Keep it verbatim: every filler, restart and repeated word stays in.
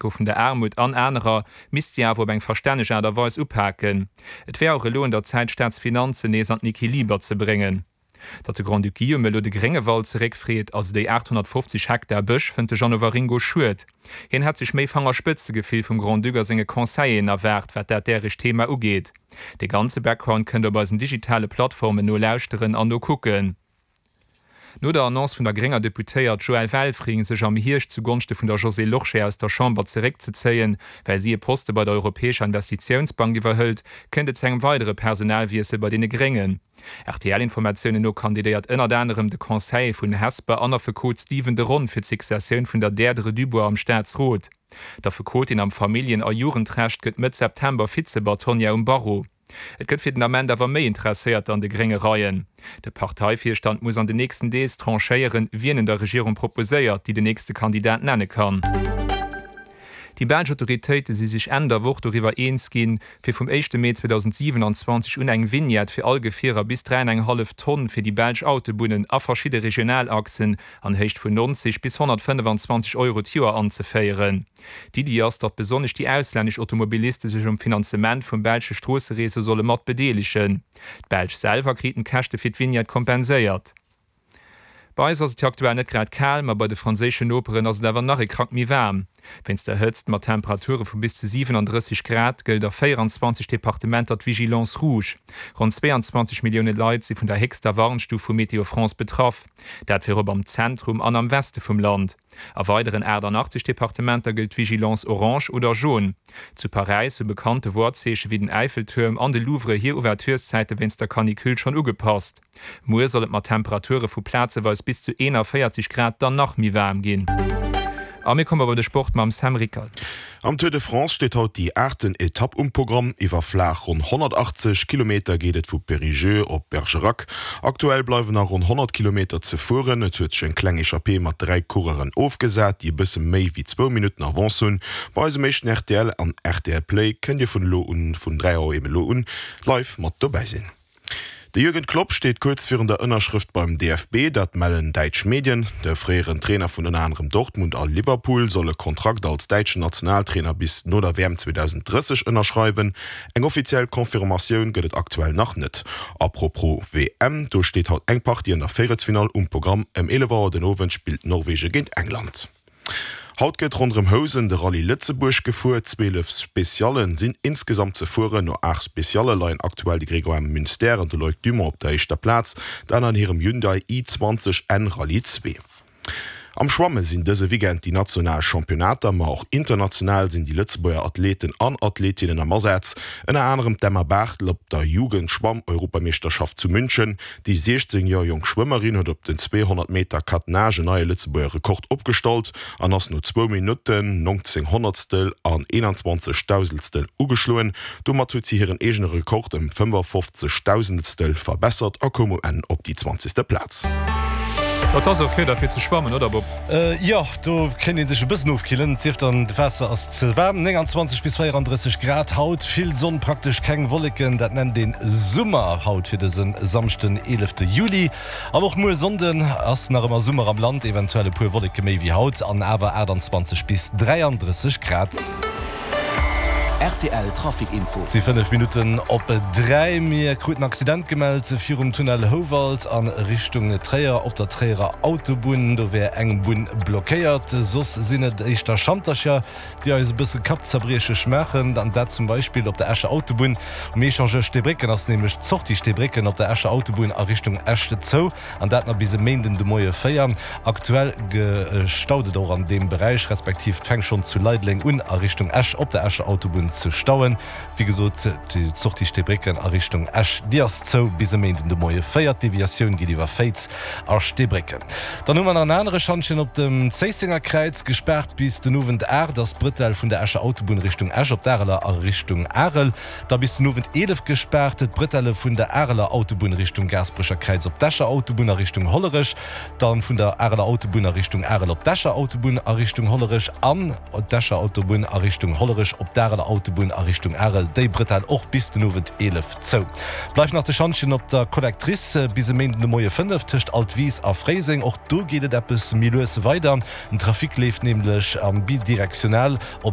vun der Aarmut an anerer misst si awer op eng verstänneg Aart a Weis upaken. Et wär och elo un der Zäit d'Staatsfinanzen nees an den Equiliber ze bréngen. Datt de Grand-Duc Guillaume elo de Gréngewald zeréckfreet, also déi achthonnertfofzeg Hektar Bësch, fënnt de Jeannot Waringo schued. Hien hätt sech méi Fangerspëtzegefill vum Grand-Duc a senge Conseilleren erwaart, wat dat däregt Thema ugeet. De ganze Background kënnt der op eisen digitale Plattformen nolauschteren an nokucken. No der Annonce vun der grénger Deputéiert Joëlle Welfring, sech am Hierscht zu Gonschte vun der Josée Lorsché aus der Chamber zeréckzezéien, well si e Poste bei der Europäescher Investitiounsbank iwwerhëlt, kënnt et zu engem weidere Personalwiessel bei deene Gréngen. R T L-Informatiounen no kandidéiert ënnert anerem de Conseiller vun Hesper an Affekot Stephen de Ron fir d'Successioun vun der Deirdre Dubois am Staatsrot. D'Affekotin am Familljen a Jugendrecht gëtt Mëtt September Vize-Bâtonnière um Barreau. Et gëtt fir den Ament awer méi Interesséierter an de grénge Reien. De Parteivirstand muss an den nächsten Deeg tranchéieren, wien en der Regierung proposéiert, déi den nächste Kandidat nenne kann. Déi belsch Autoritéite si sech Enn der Woch doriwwer eens ginn, fir vum éischte Mee zweedausendsiwenanzwanzeg un eng Vignette fir all Gefierer bis dräi an eng hallef Tonn fir déi belsch Autobunnen a verschidde Regionalachsen an Héicht vun neunzeg bis honnertfënnefenzwanzeg Euro d'Joer anzeféieren. D'Iddi ass, datt besonnesch déi auslännesch Automobiliste sech um Finanzement vum belsche Stroossereseau solle mat bedeelegen. D'Belsch selwer kriten d'Käschte fir d'Vignette kompenséiert. Bei eis ass et jo aktuell net grad kal, ma bei de franséischen Noperen ass et awer nach e Krack méi waarm. Wéinst der Hëtzt mat Temperature vu bis zu siwenandrësseg Grad gëllt a véieranzwanzeg Departementer d'Vigilance rouge. Ronn zweeanzwanzeg Millioune Leit si vun der héchster Warnstuf vu Météo France betraff, dat virop am Zentrum an am Weste vum Land. A weideren aachtannachtzeg Departementer gëllt d'Vigilance orange oder jaune. Zu Paräis hu bekannte Worzeeche wéi den Eiffeltuerm an de Louvre hir Ouvertureszäite wéinst der Canicule schonn ugepasst. Muer soll et mat Temperature vu plazeweis bis zu eenanvéierzeg Grad dann nach méi waarm ginn. A mir komme bei de Sport mam Sam Rickert. Am Tour de France steet haut déi aachten Etapp um Programm. Iwwer flaach ronn honnertachtzeg Kilometer geet et vu Périgueux op Bergerac. Aktuell bleiwen nach ronn honnert Kilometer ze fueren. Et huet sech eng kleng Echappée mat dräi Coureuren ofgesat, déi e bësse méi wéi zwou Minutten Avance hunn. Bei eisem éischten R T L an R T L Play kënnt Dir vun elo un, vun dräi Auer eben elo un, live mat dobäi sinn. De Jürgen Klopp steet kuerz virun der Ënnerschrëft beim D F B, dat mellen däitsch Medien. De fréieren Trainer vun ënner anerem Dortmund a Liverpool soll e Kontrakt als däitschen Nationaltrainer bis no der W M zweedausendrësseg ënnerschreiwen. Eng offiziell Confirmatioun gëtt et aktuell nach net. Apropos W M, do steet haut eng Partie an der Véierelsfinall um Programm. Ëm eelef Auer den Owend spillt Norwegen géint England. Haut gëtt ronderëm Housen de Rallye Lëtzebuerg gefuer. Zwielef Speciallen sinn insgesamt ze fueren. No aacht Specialle leien aktuell de Grégoire Munster an de Loïc Dumont op der éischter Plaz, dat an hirem Hyundai i zwanzeg N Rallye zwee. Am Schwamme sinn dëse Weekend déi national Championnater, ma och international sinn déi Lëtzebuerger Athleten an Athletinnen am Asaz. Ënner anerem d'Emma Barthel op der Jugend-Schwamm-Europameeschterschaft zu München. Déi siechzéng Joer jonk Schwëmmerin huet op den zweehonnert Meter Quatre Nages en neie Lëtzebuerger Rekord opgestallt an ass no zwou Minutten, nongzéng Honnertstel an eenanzwanzeg Dausendstel ugeschloen. Domat huet si hiren eegene Rekord ëm fënnefafofzeg Dausendstel verbessert a koum um Enn op déi zwanzegste Plaz. Dat ass och Wieder fir ze schwammen, oder Bob? Jo, do kéint ee sech e bëssen ofkillen, et sief dann d'Waasser ass ze waarm. nénganzwanzeg bis véierandrësseg Grad haut, vill Sonn, praktesch keng Wolleken, dat nennt een Summer haut fir dëse Samschden, eelefte Juli. An och muer Sonnden ass nach ëmmer Summer am Land, eventuell e puer Wolleke méi wéi haut an awer aachtanzwanzeg bis dräiandrësseg Grad. R T L Trafic Info. Et si fënnef Minutten op dräi. Mir kruten Accident gemellt virum Tunnel Houwald a Richtung Tréier op der Tréierer Autobunn. Do wär eng Bunn blockéiert. Soss sinn et éischter Schantercher, déi eis e bësse Kappzerbriecheg maachen. An dat zum Beispill op der Escher Autobunn. Um Echangeur Steebrécken ass nämlech d'Sortie Steebrécken op der Escher Autobunn a Richtung Esch zou. An dat nach bis e Méinden de Moie véier. Aktuell staut et och an deem Beräich, respektiv et fänkt schonn zu Leideleng un a Richtung Esch op der Escher Autobunn ze stauen. Wéi gesot, d'Sortie Steebrécken a Richtung Esch, déi ass zou bis e Méinden de Moie véier. D'Deviatioun geet iwwer Féiz a Steebrécken. Dann hu mer nach en anere Schantjen op dem Zéissenger Kräiz. Gespaart bis den Owend aacht ass d'Brëtell vun der Escher Autobunn Richtung Esch op d'Areler a Richtung Arel. Da bis den Owend eelef gespaart d'Brëtelle vun der Areler Autobunn Richtung Gaasperecher Kräiz op d'Escher Autobunn a Richtung Hollerech. Dann vun der Areler Autobunn a Richtung Arel op d'Escher Autobunn a Richtung Hollerech an d'Escher Autobunn a Richtung Hollerech op d'Areler Autobunn a Richtung Arel, déi Bretelle och bis den Owend eelef zou. Bleift nach de Schantjen op der Collectrice bis e Méinden de Moie fënnef tëscht Altwis a Fréiseng. Och do geet et eppes méi lues weider. Den Trafic leeft nämlech am bidirektional op